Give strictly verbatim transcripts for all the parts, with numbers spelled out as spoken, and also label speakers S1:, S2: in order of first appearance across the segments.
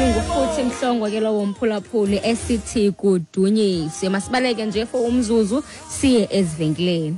S1: Ibingufuthi Mhlongo ke lowo mphulaphuli esithi kudunyiswe. Masibaleke nje for umzuzu siye ezivenkileni.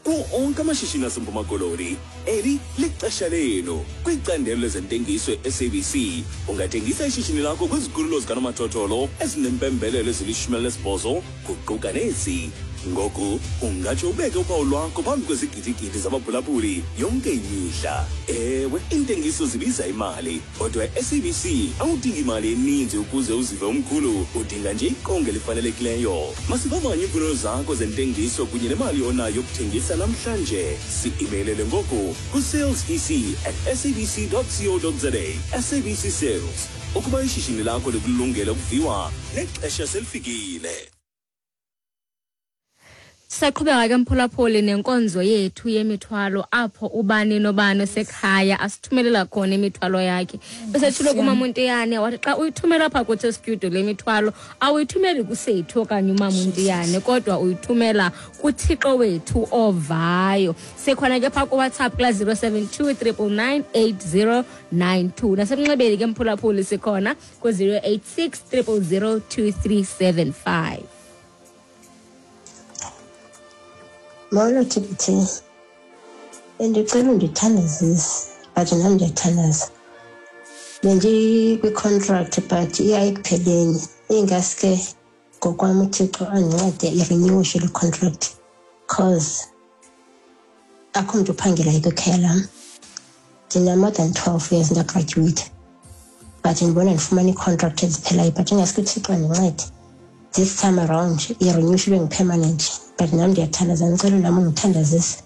S2: Kuwo onke amashishini aseMpuma Koloni, eli lixesha lenu. Kwicandelo lezentengiso e-S A B C, ungathengisa ishishini lakho kwizikhululo zikanomathotholo ezinempembelelo ezilishumi elinesibhozo, kuquka nezi. Ngoku ungatsho ubeke uphawu lwakho phambi kwezigidigidi zabaphulaphuli yonke imihla. Ewe, iintengiso zibiza imali, kodwa e-S A B C awudingi imali eninzi ukuze uzive umkhulu, udinga nje iqonga elifanelekileyo. Masivavanye iimfuno zakho zentengiso kunye nemali onayo yokuthengisa namhlanje. Si-emailele ngoku ku-sales e c at s a b c dot co dot za. S A B C Sales. Ukuba ishishini lakho likulungele ukuviwa, nexesha selifikile.
S1: Saqhubeka ke mphulaphuli nenkonzo yethu yemithwalo apho ubani nobani osekhaya asithumelela khona imithwalo yakhe. Bese kuMaMontiyane wathi xa uyithumela apha kuthi studio le mithwalo awuyithumeli kusethu okanye uMaMontiyane kodwa uyithumela kuThixo wethu ovayo. Sekhona ke pha ku WhatsApp kula zero seven two triple nine eight zero nine two. Nasemnxebeni ke mphulaphuli sikhona ku zero eight six triple zero two three seven five.
S3: Molo T B T, bendicela undithandazise, but nam ndiyathandaza. Bendikwi-contract but iya ekupheleni. Ingaske ngokwam uThixo andincede irenewushe le contract cause akho mntu uphangelayo kwikhaya lam. Ndina more than twelve years ndagraduate, but ndibona ndifumana ii-contract eziphelayo, but ingaske uThixo andincede this time around irenewushe ibe ngu-permanent. But nam ndiyathandaza, ndicela nam undithandazise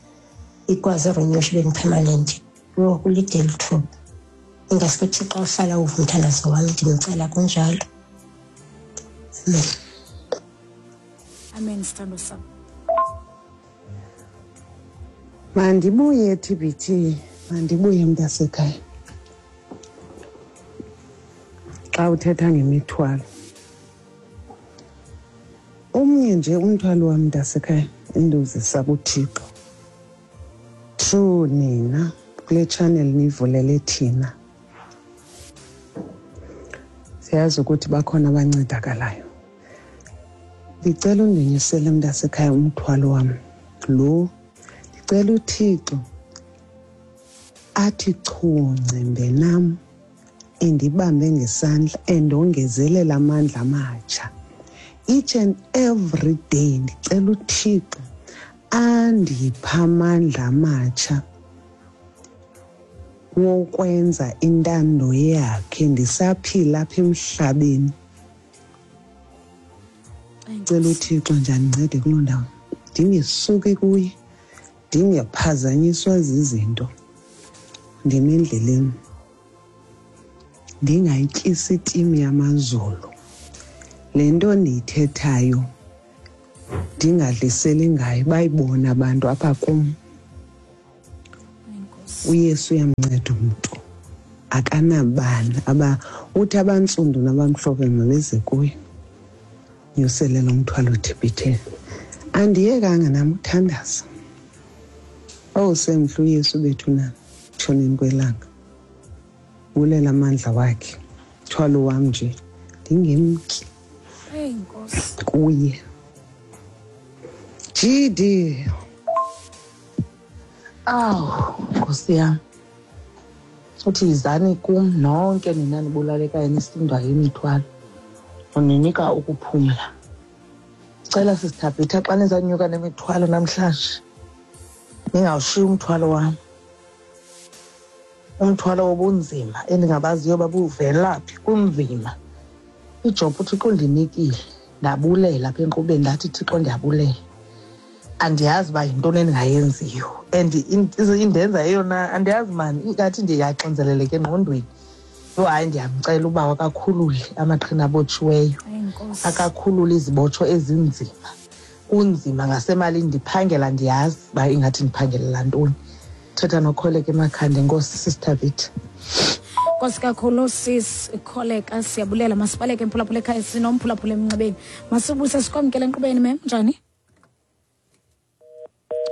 S3: ikwazi irenewushe ibe ngu-permanent. Yho, kulide eli thuba. Ingaske uThixo uhlala uva umthandazo wam, ndimcela kunjalo. Amen.
S4: Amen, sithando sam.
S5: Mandibuye T B T, mandibuye mntasekhaya. Xa uthetha ngemithwalo, omnye nje umthwalo wam mntasekhaya endiwuzisa kuThixo through nina kule channel nivulele thina. Siyazi ukuthi bakhona abancedakalayo. Ndicela undinyusele mntasekhaya umthwalo wam lo. Ndicela uThixo athi chu ncembe nam, endibambe ngesandla, endongezelela amandla amatsha. Each and every day ndicela uThixo andipha amandla amatsha wokwenza intando yakhe ndisaphila apha emhlabeni. Ndicela uThixo nje andincede kuloo ndawo, ndingesuki kuye, ndingephazanyiswa zizinto, ndime endleleni, ndingayityisi itimu yamazulu. Le nto ndiyithethayo ndingadliseli ngayo, bayibona abantu apha kum. uYesu uyamnceda umntu, akanabani aba uthi abantsundu nabamhlophe mabeze kuye. Nyusele lo mthwalo T B T. Andiyekanga nam uthandaza. Owusemhle uYesu bethu na tshoneni kwelanga. Bulela amandla wakhe. Mthwalo wam nje ndingemki kuye. G D.
S6: Awu, Nkosi yam. Uthi yizani kum nonke nina nibulalekayo nisindwa yimithwalo, uninika ukuphumla. Cela sisithabhitha xa nizanyuka nemithwalo namhlanje, ningawushiyi umthwalo wam. Umthwalo wobunzima endingabaziyo babuvela phi, kunzima. Ijob uThixo undinikile, ndabulela apha enkqubeni, ndathi Thixo ndiyabulela. Andiyazi uba yintoni endingayenziyo and indenza eyona andiyazi mani, ingathi ndiyaxinzeleleka engqondweni. Yho, hayi, ndiyamcela uba akakhulule amaqhina abotshiweyo, akakhulule izibotsho ezinzima. Kunzima ngasemalini, ndiphangela ndiyazi uba ingathi ndiphangelela ntoni. Thetha noKholeka emakhanda. Enkosi Sister Vita.
S4: Nkosi kakhulu sis Kholeka, siyabulela. Masibaleke mphulaphula ekhaya, sinomphulaphula emnxebeni. Masibuse sikwamkele enkqubeni. Mem, njani?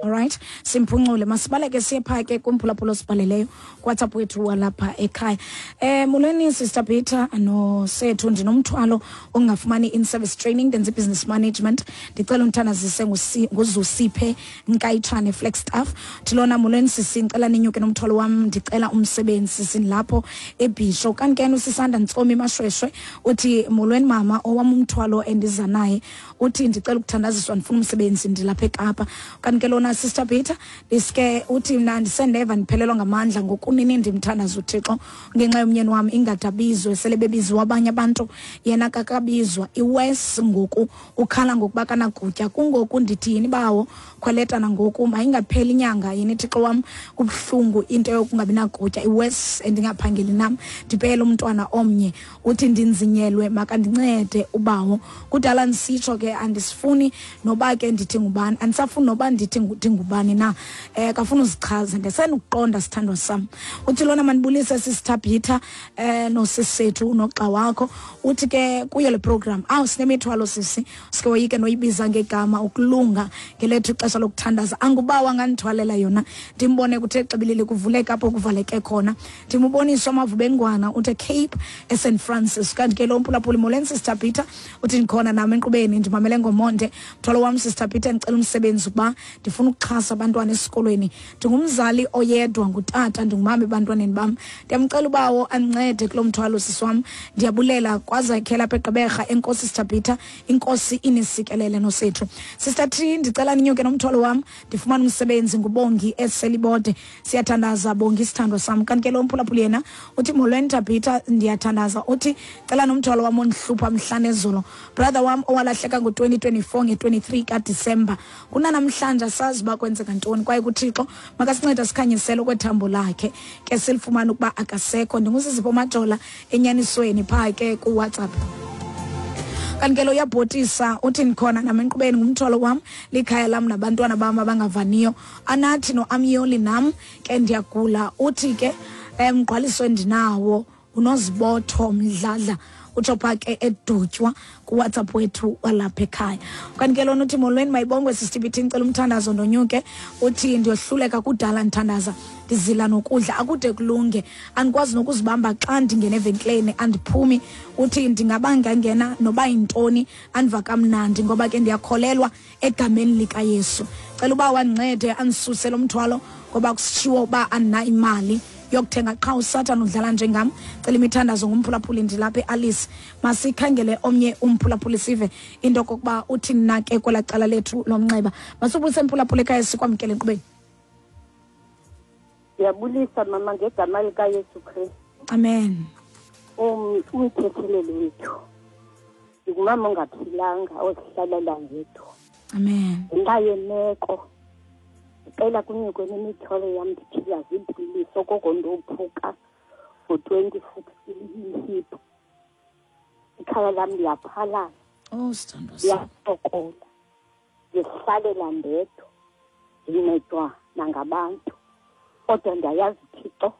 S4: Alright, simphuncule masibaleke siye phaa ke kumphulaphula osibhaleleyo kuWhatsApp wethu walapha ekhaya. Eh molweni Sister Peter nosethu, ndinomthwalo ongafumani in-service training, ndenza i-business management. Ndicela umthandazise nguZusiphe Nkayithane Flagstaff. Thilona molweni sisi, ndicela ninyuke nomthwalo wam, ndicela umsebenzi sisi lapho eBhisho. Kanti ke usisanda Ntsomi Mashweshwe uthi molweni mama, owam umthwalo endiza naye uthi ndicela ukuthandaziswa, ndifuna umsebenzi ndilapha eKapa. Kanti ke lona Sister Peter diske uthi mna ndisendeva ndiphelelwa ngamandla ngokunini ndimthandaza uThixo ngenxa yomnyeni wam ingadabizwe, sele bebiziwa abanye abantu yena kakabizwa iwes ngoku ukhala ngokuba kanakutya. Kungoku ndithi yini bawo khweleta nangoku mayingapheli inyanga yini Thixo wam, kubuhlungu into yokungabi nakutya iwes endingaphangeli nam ndipele umntwana omnye. Uthi ndinzinyelwe makandincede ubawo. Kudala ndisitsho ke andisifuni noba ke ndithi ngubani, andisafuni noba ndithi ngubani na, eh kafuna uzichaza ndesenokuqonda sithandwa sam. Uthi lona manibulise Sister Peter eh nosisethu noxa wakho. Uthi ke kuyo le program awu sinemithwalo sisi sike woyike noyibiza ngegama ukulunga ngelethu ixesha lokuthandaza. Angubawa ngandithwalela yona ndimbone kuthe xibilili kuvuleka apho kuvaleke khona, ndimubonisa amavubengwana uthe Cape eSaint Francis. Kanti ke lo mphulaphuli molweni Sister Peter uthi ndikhona nami enkqubeni ndimamele ngomonde. Mthwalo wam Sister Peter ndicela umsebenzi ukuba ndifuna ukuxhasa abantwana esikolweni, ndingumzali oyedwa ngutata, ndingumama ebantwaneni bam, ndiyamcela ubawo andincede kulo mthwalo sisi wam, ndiyabulela kwazakhela apha eGqeberha. Enkosi Sister Peter, inkosi inisikelele nosethu. Sister T ndicela ninyuke nomthwalo wam ndifumana umsebenzi ngubongi eselibode. Siyathandaza Bongi sithandwa sam. Kanti ke lo mphulaphuli yena uthi molweni Peter ndiyathandaza, uthi cela nomthwalo wam ondihlupha mhla nezolo, brother wam owalahleka ngo twenty twenty-four nge twenty-three kaDisemba, kunanamhlanje asazi uba kwenzeka ntoni, kwaye kuThixo makasinceda sikhanyisele okwethambo lakhe ke silifumane ukuba akasekho. NdinguSizipho Majola enyanisweni phaa ke kuWhatsApp. Kanti ke lo uyabhotisa uthi ndikhona nam enkqubeni ngumthwalo wam, likhaya lam nabantwana bam abangavaniyo, anathi noAmyoli nam ke ndiyagula. Uthi ke emgqwaliso endinawo unozibotho Mdladla, utsho phaa ke edutywa kuWhatsApp wethu walapha ekhaya. Kanti ke lona uthi molweni mayibongwe Sister Peter, ndicela umthandazo ndonyuke. Uthi ndiyohluleka kudala ndithandaza ndizila nokudla akude kulunge, andikwazi nokuzibamba xa ndingena evenkileni andiphumi. Uthi ndingaba ngangena noba yintoni andiva kamnandi ngoba ke ndiyakholelwa egameni likaYesu. Cela uba wandincede andisuse lo mthwalo ngoba kusitshiwo uba andinayo imali yokuthenga qha uSathana udlala njengam. Cela imithandazo ngumphulaphuli ndilapha eAlice. Masikhangele omnye umphulaphuli sive into kokuba uthi na ke kwela cala lethu lomnxeba. Masubulise mphulaphuli ekhaya sikwamkele enkqubeni.
S7: Ndiyabulisa mama ngegama likaYesu Kristu.
S4: Amen.
S7: Um umthetheleli wethu. Ndingumama ongaphilanga ozihlalela ngedwa.
S4: Amen.
S7: Ngenxa yemeko ndicela kunyukwe nemithwalo yam, ndiphila ziipilisi okoko ndophuka ngo-twenty sixteen ihip. Ikhaya lam liyaphalala.
S4: Oh sithandwa sam.
S7: Ndiyasokola, ndizihlalela ndedwa, ndincedwa nangabantu, kodwa ndiyayazi Thixo